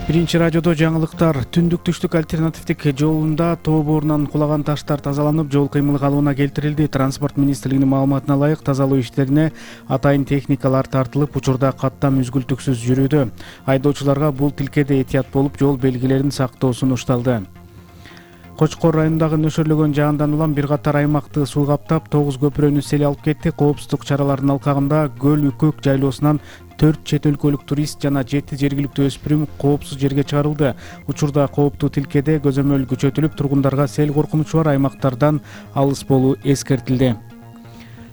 Биринчи радиодо жаңылыктар. Түндүк-түштүк альтернативдик жолунда тоо боорунан кулаган таштар тазаланып, жол кыймыл калыбына келтирилди. Транспорт министрлигинин маалыматына ылайык, тазалоо иштерине атайын техникалар тартылып, учурда каттам үзгүлтүксүз жүрүүдө. Айдоочуларга бул тилкеде этият болуп, жол белгилерин сактоо сунушталды. Кочкор районундагы нөшөрлөгөн жаандан улам бир катар аймакты суу каптап, 9 көпүрөнү сел алып кетти. Коопсуздук чараларынын алкагында Көл Үкөк жайлоосунан 4 чет өлкөлүк турист жана 7 жергиликтүү өспүрүм коопсуз жерге чыгарылды. Учурда кооптуу тилкеде көзөмөл күчөтүлүп, тургундарга сел коркунучу бар аймактардан алыс болуу эскертилди.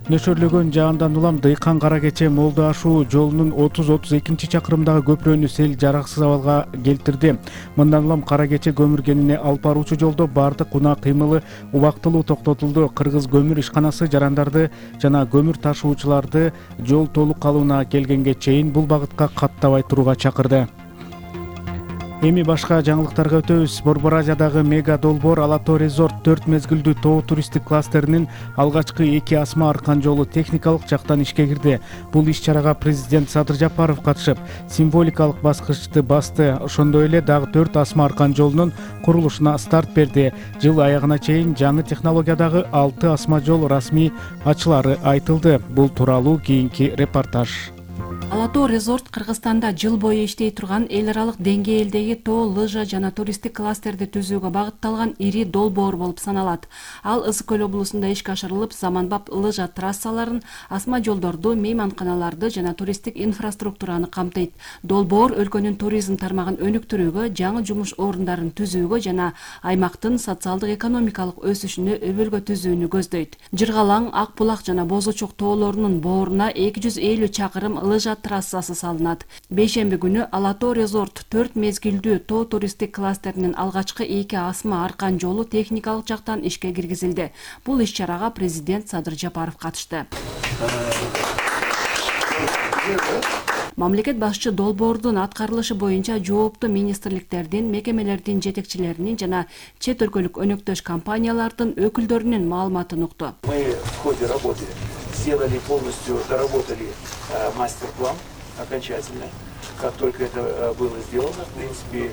Нөшөрлөгөн жаандан улам Дыйкан Кара Кече Молду ашуу жолунун 30-32 чакырымдагы көпүрөнү сел жараксыз абалга келтирди. Мындан улам Кара Кече көмүр кенине алып баруучу жолдо бардык унаа кыймылы убактылуу токтотулду. Кыргыз көмүр ишканасы жарандарды жана көмүр ташуучуларды жол толук калыбына келгенге чейин бул багытка каттабай турууга чакырды. Эми башка жаңылыктарга өтөбүз. Борбор Азиядагы мега долбоор Алатоо резорт 4 мезгилдүү тоо туристтик кластеринин алгачкы 2 асма аркан жолу техникалык жактан ишке кирди. Бул иш-чарага президент Садыр Жапаров катышып, символикалык баскычты басты. Ошондой эле дагы 4 асма аркан жолунун курулушуна старт берди. Жыл аягына чейин жаңы технологиядагы 6 асма жол расмий ачылары айтылды. Бул тууралуу кийинки репортаж. Алатоо резорт Кыргызстанда жыл бою иштей турган эл аралык деңгээлдеги тоо, лыжа жана туристтик кластерди түзүүгө багытталган ири долбоор болуп саналат. Ал Ысык көл облусунда ишке ашырылып, заманбап лыжа трассаларын, асма жолдорду, мейманканаларды жана туристтик инфраструктураны камтыйт. Долбоор өлкөнүн туризм тармагын өнүктүрүүгө, жаңы жумуш орундарын түзүүгө жана аймактын социалдык экономикалык өсүшүнө өбөлгө түзүүнү көздөйт. Жыргалаң, Ак булак жана Боз Учук тоолорунун бооруна 250 чакырым лыжа трассасы салынат. Бейшемби күнү Алатоо резорт 4 мезгилдүү тоо туристтик кластеринин алгачкы 2 асма аркан жолу техникалык жактан ишке киргизилди. Бул иш-чарага президент Садыр Жапаров катышты. Мамлекет башчы долбоордун аткарылышы боюнча жооптуу министрликтердин, мекемелердин жетекчилеринин жана чет өлкөлүк өнөктөш компаниялардын өкүлдөрүнүн маалыматын укту. Мы в ходе работы сделали полностью, доработали мастер-план окончательно. Как только это было сделано, в принципе,